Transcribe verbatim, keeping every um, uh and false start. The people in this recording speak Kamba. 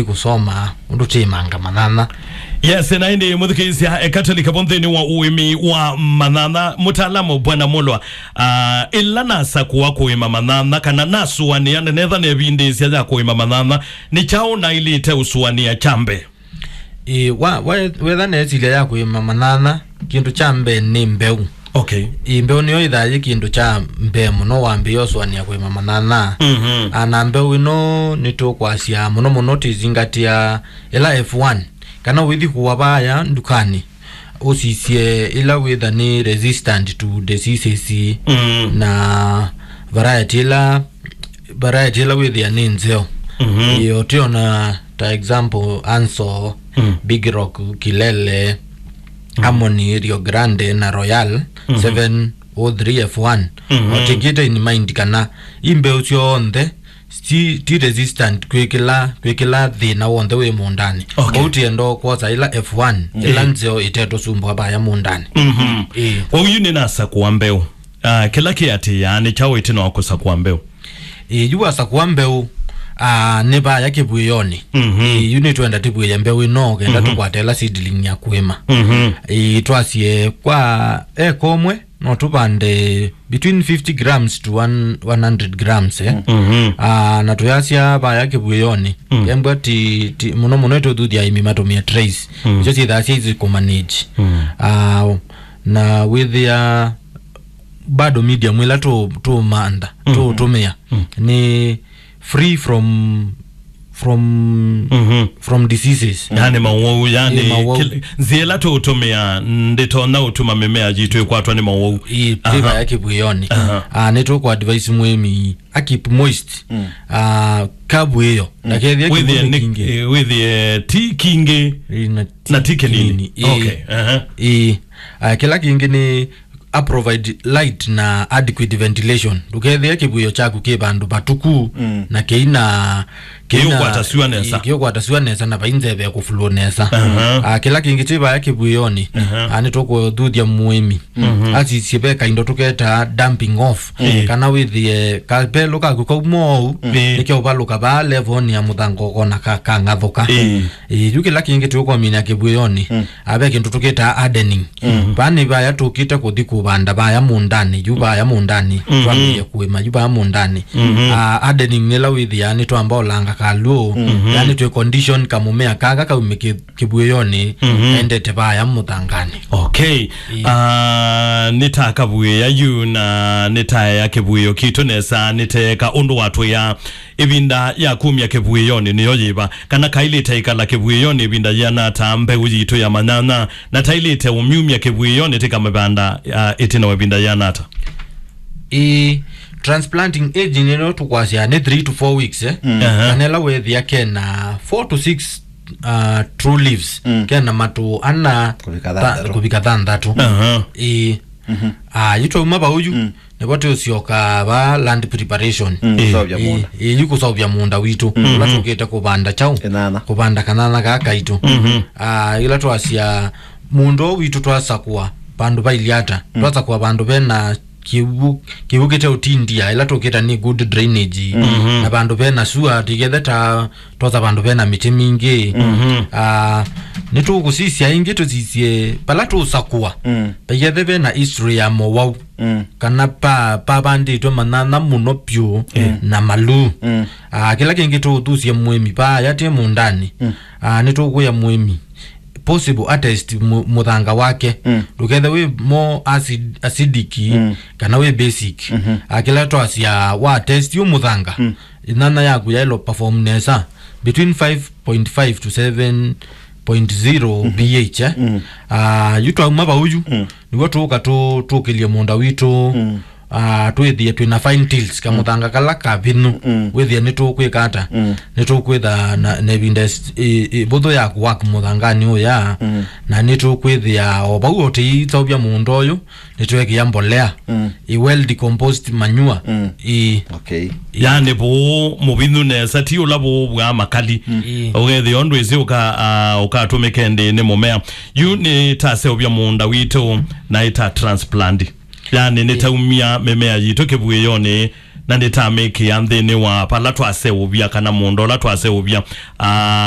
kũsoma ũndũ tĩmanga manyanya. Yes, na ĩndĩ mũthikĩĩsya, eka tũlike vo nthĩnĩ wa ũĩmi wa manyanya. Mũtaalamu Bwana Mulwa, ah, ĩla nasakũa kũĩma manyanya kana nasũanĩa nenetha nevindĩĩsya ya kũĩma manyanya, nĩ kyaũ naĩlĩte ũsũanĩa kya mbee? Ĩĩ, wa, wa, wetha nesilya ya kũĩma manyanya, kĩndũ kya mbee nĩ mbeũ. Okay. Ĩĩ, mbeũ nĩyo ĩthaa yĩ kĩndũ kya mbee mũno wambĩĩa ũsũanĩa kũĩma manyanya. Mhm. A, na mbeũ ĩno nĩtũkwasya mũno mũno tũizingatĩa ĩla F one, kana wĩthi kũa vaya ndukanĩ, ũsisye ĩla wĩtha nĩ resistant to diseases, mm, na variety ĩla, variety ĩla wĩthĩa nĩ nzeo. Mhm. Ĩĩ, ũtiona ta example Anso, mm, Big Rock, Kilele, mm, Harmony, Rio Grande na Royal, mhm, seven oh three F one. Mhm. Ũtingĩte in mind kana i mbeũ syonthe ti, ti resistant kwĩ kĩla, kwĩ kĩla thĩna w'onthe wĩ mũũndanĩ. Okay. Kwoou tienda kwosa ĩla F one, mm, ĩla, ĩĩ, nzeo ĩtetũsumbũa vaya mũũndanĩ. Mhm. Ĩĩ. Kwoou yu nĩnasakũa mbeũ. Ah, kĩla kĩatĩĩaa nĩ kyaũ ĩtina wa kũsakũa mbeũ? Ĩĩ, yu wasakũa mbeũ, ah, nĩ vaya kĩvuĩonĩ. Mhm. Ĩĩ, yu nĩtwenda tĩvuĩe mbeũ ĩno kenda, mhm, tũkwate ĩla seedling ya kũĩma. Mhm. Ĩĩ, twasye kwa eka ũmwe, no tũvande between fifty grams to one, one hundred grams, eh? Mhm. Ah, na tũyasya vaya kĩvuĩonĩ. Mm. Kembwa ti, ti, mũno mũno ĩtũthuthya aĩmi matũmĩe trays. Mm. Icio syĩthaa syĩ easy kũmanage. Mm. Ah, na wĩthĩa bado medium ĩla tũ, tũmantha, mm, tũtũmĩa, mm, nĩ free from, from, mhm, from diseases. Yani mawau, yani, ĩ, mawau. Kĩl-, nzĩa ĩla tũũtũmĩa ndĩtonya ũtuma mĩmea yitũ ĩkwatwa nĩ mawau. Ĩ, aha, tĩva ya kĩvuĩonĩ. Aha. Ah, nĩtũkũ advise mũĩmi a keep moist. Mm. Ah, kavu ĩyo. Mm. Na kethĩa wĩthĩe kĩvũnĩ nĩ kingĩ, eh, wĩthĩe ti kingĩ. Ĩ, na ti, na ti kĩnini. Kĩnini. Ĩ. Okay. Aha. Ĩ. Ah, kĩla kĩngĩ nĩ a provide light na adequate ventilation. Ndũkethĩe kĩvuĩo kyaku kĩ vandũ vatuku, mm, na kĩina, kĩina, kĩũkwata syũa nesa. Ĩ, kĩũkwata syũa nesa na vai nzeve ya kũflow nesa. Aha. Ah, kĩla kĩngĩ tĩ vaya kĩvuĩonĩ, aha, ah, nĩtũkũthuthya mũĩmi, mhm, asisye ve kaindo tũketaa damping off, ĩ, kana wĩthĩe kapelũ kaku kauma ũu, ĩ, nĩkeũvalũka vaa level-nĩ ya mũthanga ũkona ka, kang'athũka. Ĩ. Ĩ, yu kĩla kĩngĩ tũkũmina kĩvuĩonĩ, mm, ah, ve kĩndũ tũkĩtaa hardening. Mm. Vaa nĩ vaya tũkĩte kũthi kũvanda vaya mũũndanĩ, yu vaya mũũndanĩ, mhm, twambĩĩe kũĩma, yu vaya mũũndanĩ. Mhm. Ah, hardening nĩla wĩthĩaa nĩtwamba ũlanga kalũũ, mhm, yani twĩ condition kamũmea kaka kaume kĩ-, kĩvuĩonĩ, mhm, endete vaya mũthanganĩ. Okay. Ĩ. Ah, nĩtakavuĩa yu na nĩtaea kĩvuĩo kitũ nesa, nĩteeka ũndũ watwĩa ĩvinda ya kumya kĩvuĩonĩ nĩyo yĩva, kana kaĩlĩte ĩkala kĩvuĩonĩ ĩvinda yĩana ata mbeũ yitũ ya manyanya, na taĩlĩte ũmyumya kĩvuĩonĩ tĩkamĩvanda, ah, ĩtina wa ĩvinda yĩana ata? Ĩ, transplanting age nĩno tũkwasya nĩ three to four weeks, eh? Mm. Aha. Kana ĩla wethĩa kena four to six, ah, true leaves, mm, kena matũ ana kũvika tha-, thanthatũ, kũvika thanthatũ. Aha. Ĩ. Mhm. Ah, yu twauma vau yu, mm, nĩvo tũsyoka va land preparation. Mm, ĩ, kũseũvya, ĩ, mũũnda. Ĩ, yu kũseũvya mũũnda witũ, mm, ũla tũkĩte kũvanda kyaũ? Kĩnyanya. Kũvanda kanyanya kaa kaitũ. Mhm. Ah, ĩla twasya mũũnda ũũ witũ twasakũa vandũ vailye ata? Mm. Twasakũa vandũ vena kĩw'ũ, kĩw'ũ kĩteũtindia, ĩla tũkĩta nĩ good drainage. Mhm. Na vandũ vena sua, tũikethe ta twosa vandũ vena mĩtĩ mingĩ. Mhm. Ah, nĩtũkũsisya ĩngĩ tũsisye vala tũũsakũa. Mm. Vaikethe vena history ya mowau. Mm. Kana pa, pavandĩtwe manyanya mũno vyũ, mm, na maluu. Mm. Ah, kĩla kĩngĩ tũũthusye mũĩmi vaya tĩ mũũndanĩ. Mm. Ah, nĩtũkwĩa mũĩmi possible atest mu-, mũthanga wake. Mm. Ndũkethe wĩ more acid, acidic, mm, kana wĩ basic. Mhm. Ah, kĩla twasya wa test yu mũthanga, mm, ĩnyanya yaku yaĩlwe perform nesa between five point five to seven point zero, mhm, pH, eh? Mm. Ah, yu twauma vau yu, mm, nĩw'o tũũka tũ-, tũkĩlye mũũnda witũ, mm, ah, twĩthĩe twĩna fine tills, mm, kamũthanga kala kavinyu, mm, wĩthĩe nĩtũkwĩka ata? Mm. Nĩtũkwĩtha na, na ĩvinda ĩ-, ĩ-, ĩvũthũ ya kũwak mũthanganĩ ũya, mm, na nĩtũkwĩthĩa o vau o tũiseũvya mũũnda ũyũ, nĩtwekĩa mbolea, mm, ĩ well decomposed manure. Mm. Ĩ. Okay. Yani vũũ mũvinyu nesa, ti ũla vũũ vwa makali. Mm. Ĩ. Ũkethĩa ũndũ ĩsĩ ũka-, ah, ũkatũmĩka ĩndĩ nĩ mũmea. Yu nĩtaseũvya mũũnda witũ na ĩta transplant. Yani nĩtaumya mĩmea yitũ kĩvuĩonĩ Na nĩtamĩkĩa nthĩnĩ wa pala twaseũvya, kana mũũnda ũla twaseũvya. Ah,